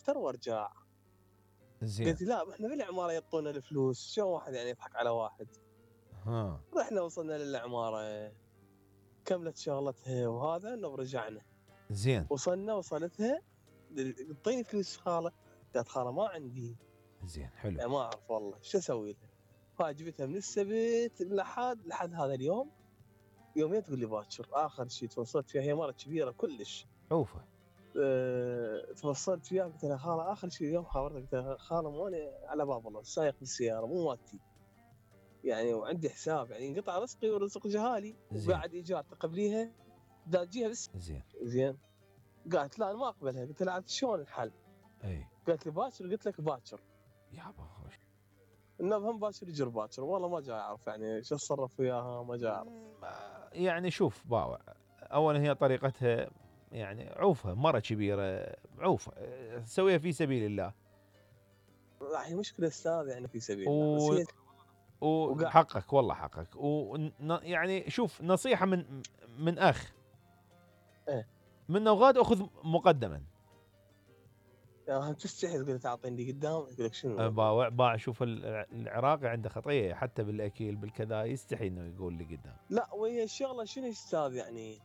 اتوتر وارجع. زين. قلت لا احنا بالعماره يعطونا الفلوس، شلون واحد يعني يضحك على واحد؟ ها. رحنا وصلنا للعماره، كملت شغلتها وهذا انه رجعنا. زين. وصلتها اعطيني فلوس خاله. قالت خاله ما عندي. زين حلو. يعني ما اعرف والله شو اسوي لها. فجبتها من السبت لحد هذا اليوم. يومين تقول لي باكر. اخر شيء توصلت فيها، هي مره كبيره كلش. عوفه. توصلت فيها قلت لها خاله اخر شيء اليوم خابرتك، قلت لها خاله ماني على باب الله سايق بالسياره مو مالتي يعني، وعندي حساب يعني انقطع رزقي ورزق جهالي وقاعد ايجار تقبليها دا تجيها بس. زين. قالت لا انا ما اقبلها. قلت لها عاد شلون الحل؟ اي. قالت لي باكر. قلت لك باكر يابا خوش. انه هم باكر يجر باكر. والله ما جاي اعرف يعني شو اتصرف وياها، ما جاي اعرف. يعني شوف باوع، اولا هي طريقتها يعني عوفه، مره كبيره عوفه، سويها في سبيل الله. هي مشكله استاذ يعني في سبيل الله بس هي وحقك والله حقك. يعني شوف نصيحه من اخ. ايه من وغاد اخذ مقدما. يعني تستحي تقول تعطيني قدام، يقول لك شنو؟ باع شوف العراقي عنده خطيه حتى بالاكل بالكذا، يستحي انه يقول لي قدام. لا وهي الشغله شنو استاذ يعني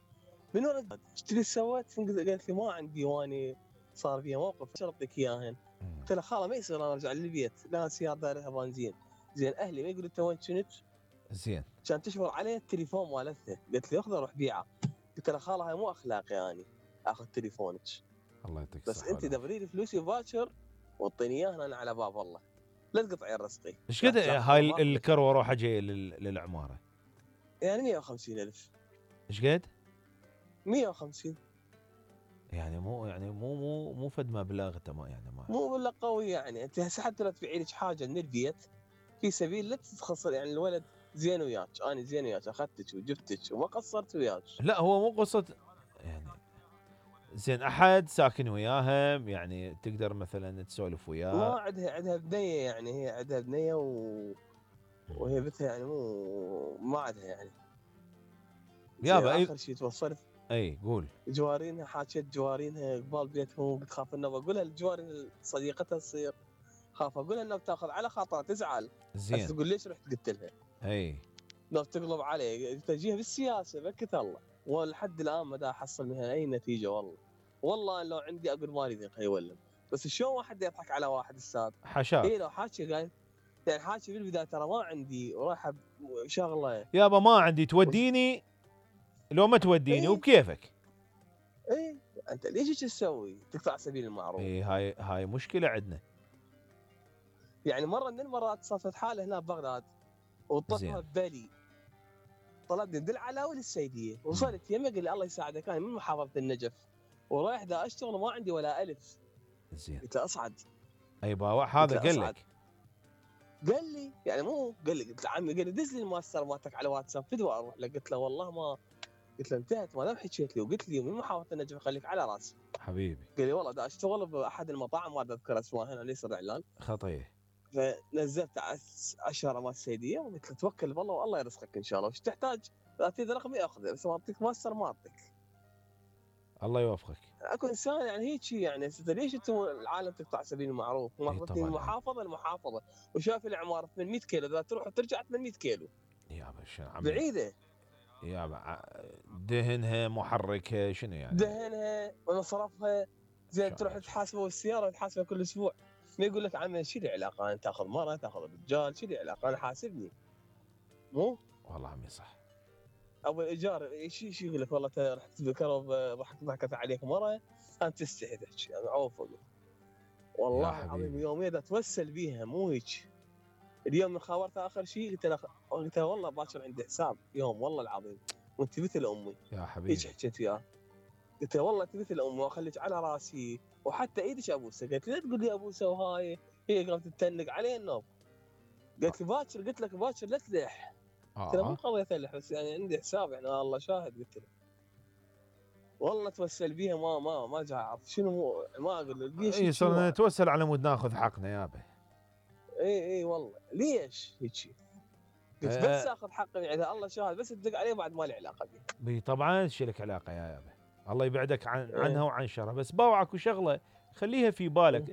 من وين ايش اللي سويت؟ قالت لي ما عندي واني صار بي موقف شرط لك اياهن. قلت لها خاله ما يصير انا ارجع للبيت، لا سياره دارها بنزين. زين اهلي ما يقولوا انت وين كنت؟ زين. كان تشبر عليه التليفون مالتها. قلت لي اخذه روح بيعه. قلت لها خاله هاي مو اخلاقي يعني اخذ تليفونك. الله يعطيك بس انت دبري لي فلوسي باكر واعطيني اياها انا على باب الله، لا تقطعي رزقي. ايش قد هاي الكروه روحه جايه للعماره؟ يعني 150,000. ايش قد؟ 150. يعني مو فد مبلغ تمام يعني مو ولا قوي يعني. انت هسه حتى لو تبيعي لك حاجه من البيت في سبيل لا تتخسر يعني. الولد زين وياك، انا زين وياك، اخذتك وجبتك وما قصرت وياك. لا هو مو قصه يعني. زين احد ساكن وياهم يعني تقدر مثلا تسولف وياه؟ ما عندها بنيه يعني، هي عندها بنيه وهي بنتها يعني ما عندها يعني. يابا اخر شيء توصلت. اي قول. جوارينها حاكيت جوارينها قبال بيتهم، بتخاف انه بقول لها الجوارين صديقتها تصير خاف اقول لها انه بتاخذ على خاطرها تزعل. زين. تقول ليش رحت قلت لها؟ اي لو تقلب علي تجيها بالسياسه بكت الله. ولحد الان ما دا احصل منها اي نتيجه والله. والله لو عندي اقول ما اريد يولم. بس شلون واحد يضحك على واحد استاذ؟ حشاك. اي لو حاكي قال يعني حاكي بالبدايه ترى ما عندي ورايحه شغله يابا ما عندي توديني لو ما توديني وبكيفك. اي انت ليش تسوي؟ تقطع سبيل المعروف. اي هاي مشكله عندنا. يعني مره من المرات صارت حاله هنا ببغداد وطلبها ببالي، طلبني من العلاوي للسيديه. وصلت يمه قال لي الله يساعدك انا من محافظه النجف ورايح دا اشتغل وما عندي ولا الف. زين. قلت له اصعد. اي باوع هذا قال لك؟ قال لي يعني مو قال لي. قلت له عمي، قال لي دز لي المؤسسه مالتك على واتساب فدوى اروح له. قلت له والله ما، قلت له انتهت ما دام حكيت لي وقلت لي من محافظه النجف خليك على راسي حبيبي. قال لي والله دا اشتغل باحد المطاعم ما اذكر اسمها هنا ليس اعلان خطيه. فنزلت 10 مال السيديه وقلت له توكل بالله والله يرزقك ان شاء الله، وش تحتاج اعطيني رقمي اخذه بس ما اعطيك مؤسسه ما اعطيك. الله يوفقك. اكو انسان يعني هيك يعني. ليش انتم العالم تقطع سبيل المعروف؟ ماخذتني المحافظه المحافظه وشاف العماره 800 كيلو اذا تروح وترجع 800 كيلو يابا شنو بعيده. يابا دهنها محركها شنو يعني؟ دهنها ومصرفها. زين تروح تحاسبه السياره تحاسبه كل اسبوع. ما يقول لك عمي شو لي علاقه انت تاخذ مره تاخذ رجال شو لي علاقه انا حاسبني مو؟ والله عمي صح. ابو الايجار شو يقول لك والله رحت بكرب ضحكت عليك مره انت تستحي تحكي انا عوفك. والله العظيم يوميا اتوسل بيها مو هيك. اليوم من خابرتها اخر شيء قلت له والله باكر عندي حساب يوم والله العظيم وانت مثل امي يا حبيبي. هيك حكيت وياه. قلت له والله انت مثل امي واخليك على راسي وحتى ايدك ابوسه. قالت لي لا تقول لي ابوسه وهاي هي قامت تتنق علي النوم. قالت لي باكر قلت لك باكر لا تلح. قلت له مو قضيه تلح بس يعني عندي حساب يعني الله شاهد. قلت له والله توسل بيها ما جاي اعرف شنو ما اقول ليش. اي صرنا نتوسل على مود ناخذ حقنا يابا. اي والله ليش هيك؟ قلت بس اخذ حقي يعني الله شاهد بس تدق عليه بعد ما لي علاقه به. طبعا ايش لك علاقه يا يابا؟ الله يبعدك عنها وعن شرها. بس باوعك وشغله خليها في بالك.